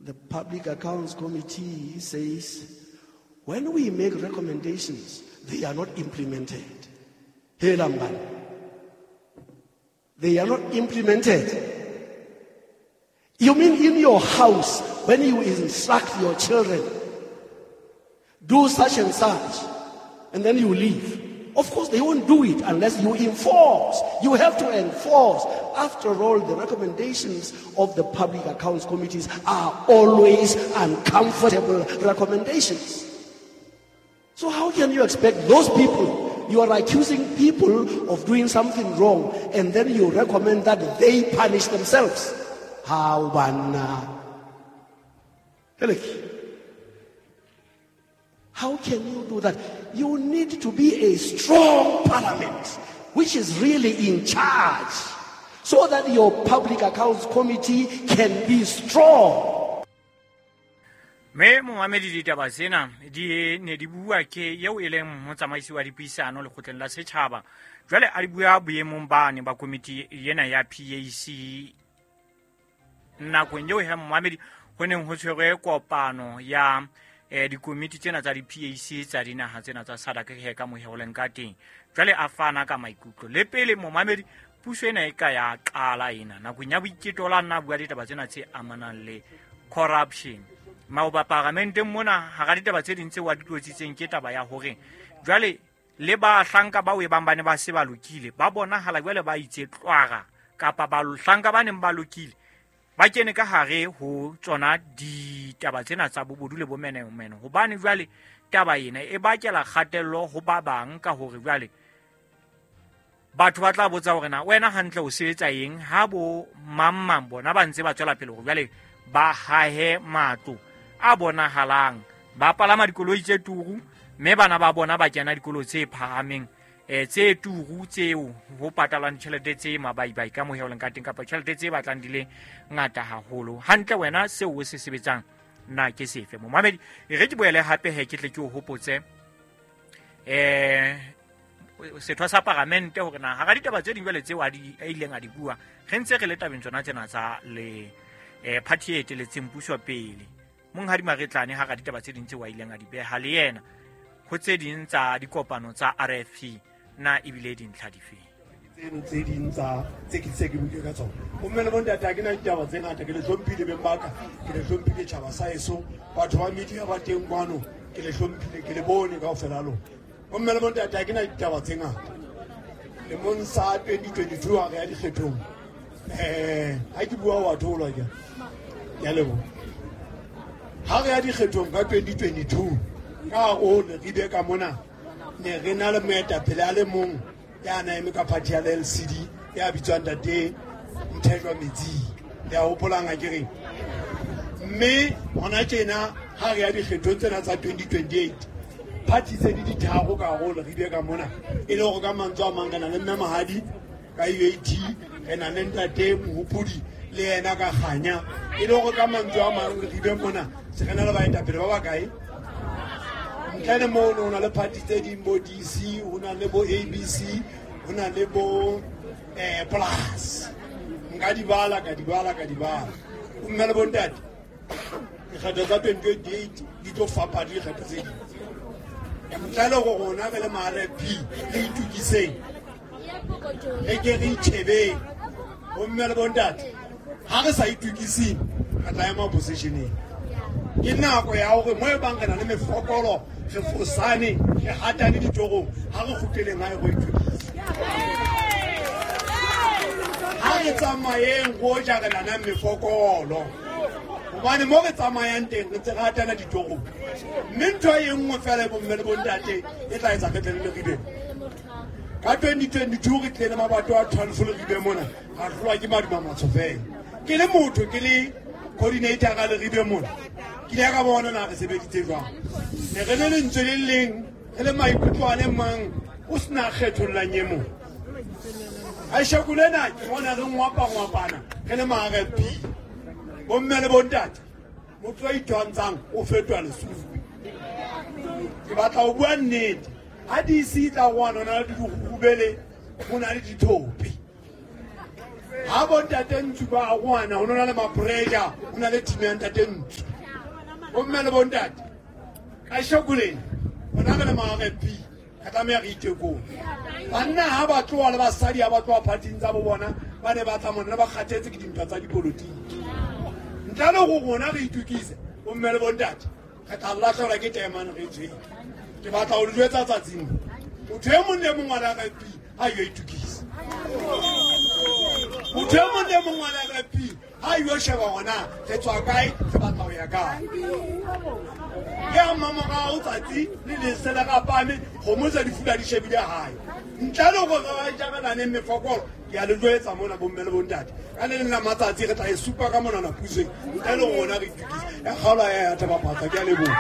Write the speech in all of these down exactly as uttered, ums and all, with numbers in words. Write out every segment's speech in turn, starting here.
The Public Accounts Committee says, when we make recommendations, they are not implemented. Hey, Lamban. They are not implemented. You mean in your house, when you instruct your children, do such and such, and then you leave. Of course, they won't do it unless you enforce. You have to enforce. After all, the recommendations of the Public Accounts Committees are always uncomfortable recommendations. So how can you expect those people? You are accusing people of doing something wrong, and then you recommend that they punish themselves. How banna? How can you do that? You need to be a strong parliament, which is really in charge, so that your Public Accounts Committee can be strong. Me momamedi ditaba tsena di ne di bua ke eo e leng motsamaisi wa dipuisano lekgotleng la setjhaba. Jwale a di bua boemong bane ba komiti ena ya P A C nakong eo he momamedi ho neng ho tshwerwe kopano ya eh dikomiti tsena tsa di-P A C tsa dinaha tsena tsa SADC he ka moheoleng ka teng. Jwale a fana ka maikutlo le pele momamedi puso ena e ka ya qala ena nakong ya boiketo la nna bua ditaba tsena tse amanang le corruption. Maoba paramenteng mona hara ditaba tse ding tse wa di tlotsitseng ke taba ya hore jwale le bahlanka bao e bang ba ne ba se ba lokile ba bonahala jwale ba itse tlwara kapa bahlanka ba neng ba lokile ba kene ka hare ho tsona ditaba tsena tsa bobodu le bomenemene, hobane jwale taba ena e bakela kgatello ho ba bang ka hore jwale batho ba tla botsa hore na wena hantle o sebetsa eng ha bo mang mang bona ba ntse ba tswela pele hore jwale ba hahe matlo a bonahalang, ba palama dikoloi tse turu mme bana ba bona ba kena dikolo tse phahameng eh tse turu tseo ho patalwang ditjhelete tse mabaibai ka moheoleng ka teng kapa tjhelete tse batlang di le ngata haholo. Hantle wena seo o se sebetsang na ke sefe? Momamedi e re ke boele hape he ke tle ke o hopotse eh setho sa paramente hore na hara ditaba tse ding jwale tseo a di a ileng a di bua re ntse re le tabeng tsona tsena tsa le eh party e eteletseng puso pele. Monghadi Maretlane hara ditaba tse ding tseo a ileng a di beha le yena ho tse ding tsa dikopano tsa R F P na ebile dintlha dife tseno tse ding tsa tse ke tse ke buile ka tsona. Bomme le bontate ha ke na ditaba tse ngata, ke le hlomphile beng ba ka, ke le hlomphile tjhaba sa heso, batho ba media ba teng kwano, ke le hlomphile, ke le bone kaofela lona. Bomme le bontate ha ke na ditaba tse ngata. Lemong sa twenty twenty-two ha re ya dikgethong, eh ha ke bua wa tholwa ke ke a leboha. Ha re ya dikgethong ka twenty twenty-two ka o le re be ka mona ne re na le moetapele a le mong ya na eme ka party ya L C D ya bitswang Ntate Mthethwa Metsi, le a hopolang ha ke reng. Mme hona tjena ha re ya dikgethong tsena tsa twenty twenty-eight party tse di ditharo ka hare re be ka mona e le hore ka mantswe a mang re na le Mme Mahadi ka U A T, re na le Ntate Mohopodi le yena ka Kganya, e le hore ka mantswe a mang re be mona se re na le baetapele ba bakae. Ntle le moo ho na le party tse ding bo D C, ho na le bo A B C, ho na le bo eh Plus. Nka di bala ka di bala ka di bala. Mme le bontate dikgetho tsa twenty twenty-eight di tlo fapana le dikgetho tse ding. Ntle le hore rona re le ma R F P re itokiseng, re ke re itjhebeng. Bomme le bontate ha re sa itokiseng re tla ema positioneng. Ke nako ya hore mo e bang re na le mefokolo, re fosane, re hatane ditorong, ha re kgutleleng hae go itokisa. Ha re tsamayeng go ja re na le mefokolo, hobane mo re tsamayang teng re ntse re hatana ditorong. Mme ntho e nngwe fela bomme le bontate e tla etsa re tle le Leribe. Ka twenty twenty-two re tlile mabato a twelve Leribe mona, ra hlolwa ke maduma matsho fela. Ke le motho ke le coordinator ka Leribe mona, ke ile ka bona na re sebeditse jwang. Ne re le lentswe le leng, re le maikutlo a le mang, o sena kgethollang e mong. Aisheko lena ke bona re ngwapa-ngwapana re le ma R F P. Bomme le bontate, motho a itwantshang o fetoha lesufi. Ke batla ho bua nnete. Ha D C e tla kwana, ho na le dirurubele, ho na le dithope. Ha bontate Ntsu ba arohana ho na le ma-pressure, ho na le team ya ntate Ntsu. Bomme le bontate, kasheko lena rona re le ma-R F P re tlameha re itekole. Banna ha ba tloha le basadi ha ba tloha parting tsa bo bona, ba ne ba tla mona ba kgathetse ke dintwa tsa dipolotiki. Ntle le ho rona re itukise, bomme le bontate, re tla lahlehelwa ke taemane re tshwere. Ke batla ho le jwetsa tsatsing, motho e mong le mong wa R F P ha yo itukise. Motho e mong le mong wa R F P ha yo sheba hona re tswa kae, re batla ho ya kae. Ke a mmamorao tsatsi le lesela rapame, kgomo tsa di fula di shebile hae. Ntle le hore re jabelane mefokolo, ke a le jwetsa mona bomme le bontate, ka le leng la matsatsi re tla e supa ka monana pusong, ntle le rona re itukise. Ya kgaola ya ya Thaba-Phatsa, ke a leboha.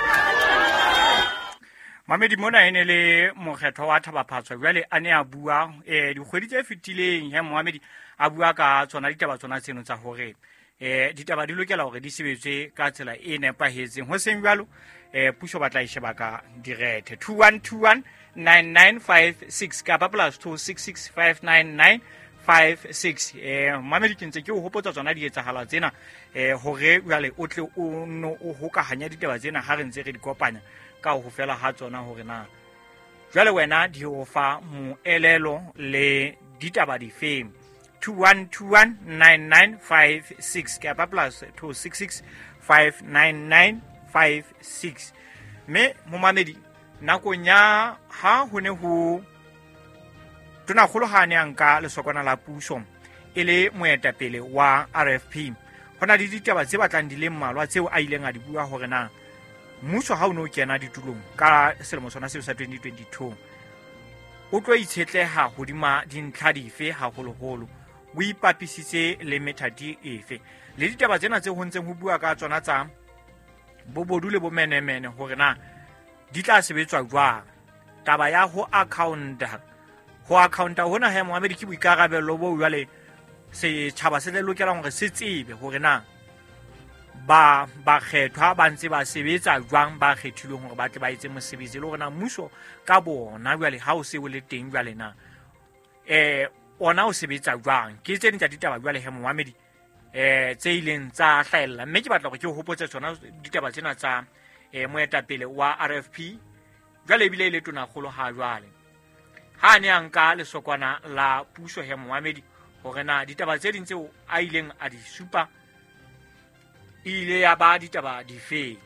Mamedi mona e ne le mokgetho wa Thaba-Phatsa jwale a ne a bua eh dikgwedi tse fetileng he Mohamedi a bua ka tsona ditaba tsona tseno tsa hore eh ditaba di lokela hore di sebetswe ka tsela e nepahetseng, ho seng jwalo eh puso ba tla e sheba ka direthe. Two one two one nine nine five six kapa plus two six six five nine nine five six. Eh Mohamedi ke ntse ke o hopotsa tsona dietsahalo tsena eh hore jwale o tle o no o hokahanya ditaba tsena ha re ntse re di kopanya ka ho fela ha tsona hore na jwale wena di o fa moelelo le ditaba difeng. Two one two one nine nine five six kapa plus two six six five nine nine five six. Mme momamedi nakong ya ha ho ne ho tonakgolo ha ne a nka lesokwana la puso e le moetapele wa R F P, ho na le ditaba tse batlang di le mmalwa tseo a ileng a di bua hore na mmuso ha o no kena ditulong ka selemo sona seo sa twenty twenty-two o tlo itshetleha hodima dintlha dife haholoholo, o ipapisitse le methati efe, le ditaba tsena tse ho ntseng ho bua ka tsona tsa bobodu le bomenemene hore na di tla sebetswa jwang. Taba ya ho accounta, ho accounta hona he Mohamedi ke boikarabelo bo jwale setjhaba se le lokelang hore se tsebe hore na ba bakgethwa ba ntse ba sebetsa jwang, ba kgethilweng hore ba tle ba etse mosebetsi, le hore na mmuso ka bona jwale ha o se o le teng jwale na eh ona o sebetsa jwang. Ke tse ding tsa ditaba jwale he Mohamedi eh tse ileng tsa hlahella, mme ke batla hore ke o hopotse tsona ditaba tsena tsa eh moetapele wa R F P jwale ebile e le tonakgolo ha jwale ha ne a nka lesokwana la puso he Mohamedi, hore na ditaba tse ding tseo a ileng a di supa ile ya ba ditaba dife.